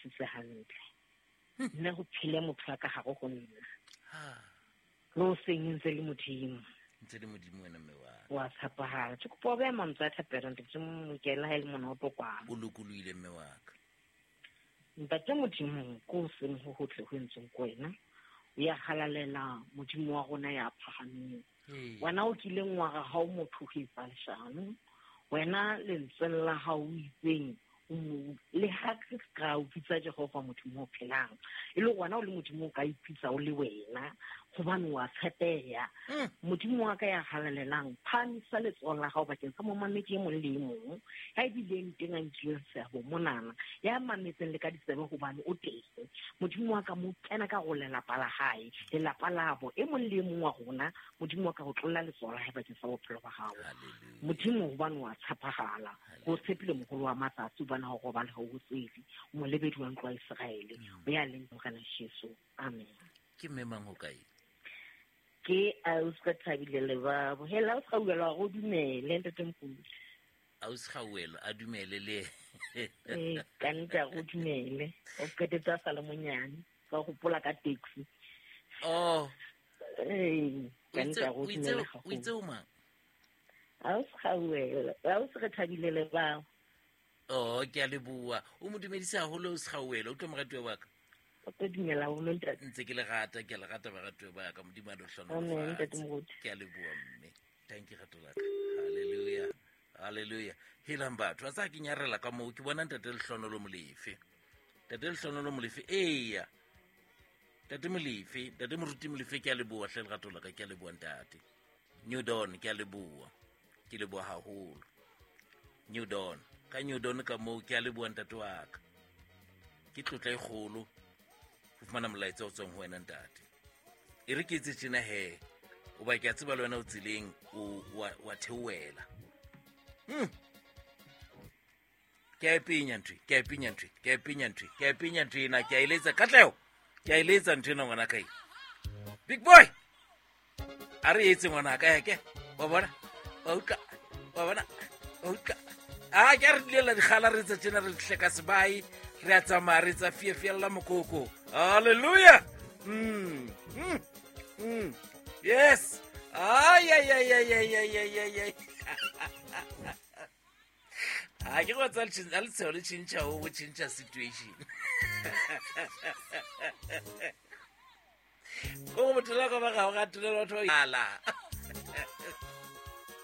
Sitse hantle. Nna ho phele motho ya ka gare go nna. Le o seng ntse le Modimo. Ntse le Modimo wena mme wa. Wa tshepahala. Ke kopa o beha mantswe a thapelo ntate Mokela ha e le mona o tlo kwala. O lokolohile mme wa ka. Ntate Modimo ko o seng ho hotle ho entsweng ko wena. O ya halalela Modimo wa rona ya phahameng. Wena o kileng wa re ha o motho ho etsa leshano. Wena lentsweng la hao o itseng le ha ka o bitsa Jehova Modimo o phelang, e le wena o le Modimo o ka ipitsa o le wena, hobane wa tshepeha. Modimo wa ka ya halalelang, phahamisa letsoho la hao bakeng sa momamedi e mong le e mong ya bileng teng a nkileng seabo monana, ya mametseng le ka ditsebe hobane o teng. Modimo wa ka, mo kena ka go lelapa la hae, lelapa labo, e mong le e mong wa rona. Modimo wa ka, o tlolla letsoho la hae bakeng sa bophelo ba hao. Modimo, hobane wa tshepahala, go tshepile mogolo wa matsatsi, hobane ha o robale ha o tsele, molebedi wa ntlo ya Iseraele, o ya leng Morena Jesu. Amen. Ke mme mang ho kae? Ke Ausi ka Thabile Lebabo. Hela Ausi Gauelo, a go dumele ntate Mokudi. Ausi Gauelo a dumele le. Ee, ka nnete a go dumele. O qetetse a sa le monyane, ka gopola ka taxi. Oh. Ee, ka nnete a go dumele O itse o mang? Ausi Gauelo, Ausi re Thabile Lebabo. Oh, ke a leboha. O mo dumedise haholo Ausi Gauelo, o tlo moratuwa wa ka. O tlo dumela haholo ntate. Ntse ke le rata, ke a le rata baratuwa ba ka, Modimo a le Amen, ntate hlohonolofatse. Moruti. Ke a leboha mme. Thank you rato la ka. Hallelujah. Hallelujah. Helang batho, a tsa ke nyarela ka moo ke bona ntate Lehlohonolo Molefe. Ntate Lehlohonolo Molefe, eya. Ntate Molefe, ntate Moruti Molefe, ke a leboha hle lerato la ka, ke a leboha ntate. New Dawn, ke a leboha. Ke leboha haholo. New Dawn, ka New Dawn ka moo ke a leboha ntate wa ka. Ke tlotla e kgolo ho fumana molaetsa o tswang ho wena ntate. E re ke etse tjena he, hoba ke a tseba le wena o tseleng o wa theohela. Ke a e penya ntho, ke a e penya ntho, ke a e penya ntho, ke a e penya ntho ena, ke a e letsa Katleho. Ke a e letsa ntho ena ngwana ka e. Big boy. A re etse ngwana ka eke. Wa bona? Wa utlwa? Wa bona? Wa utlwa? A ke a re dilela dikgala re tsa tjena re hleka sebai, re a tsamaya re tsa fiefiella mokoko. Hallelujah. Yes. Ay ay ay ay ay ay ay ay ay. A ke go tsa a letsheo le tšhentšha o tšhentšha situation. Ko go bothela ka ba gago ga tolela batho ba ala.